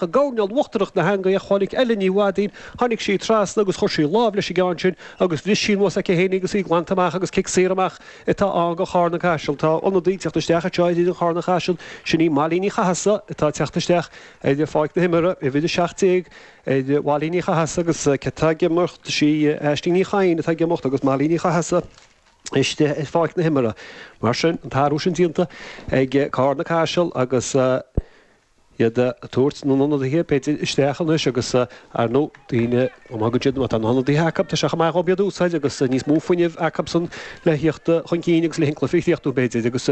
I gcoirnéal uachtarach na heangaí a chonaic Ellen Ní Mhaidín. Tháinig sí trasna agus chuir sí lámh leis an gceann sin agus bhris sí anuas aici féin í agus í glanta amach agus cic saor amach atá ann do Charna Caiseal. Tá ionadaí ag teacht isteach anseo ar fhoireann Charna Caiseal, sin í Molly Ní Chathasaigh atá ag teacht isteach ar pháirc na himeartha, uimhir 17 ar Mholly Ní Chathasaigh agus cé atá ag imeacht? Is í Aisling Ní Chadhain atá ag imeacht agus Molly Ní Chathasaigh istigh ar pháirc na himeartha. Mar sin, an t-athrú sin déanta ag Carna Caiseal agus. iad ag tabhairt na n-ionadaithe, b'fhéidir, isteach anois agus, ar ndóigh, daoine, má thagann siad, má tá na hionadaithe acu, tá sé chomh maith dhóibh iad a úsáid agus níos mó fuinnimh acusan le thíocht chun cinn agus le an cluiche a chríochnú, b'fhéidir, agus.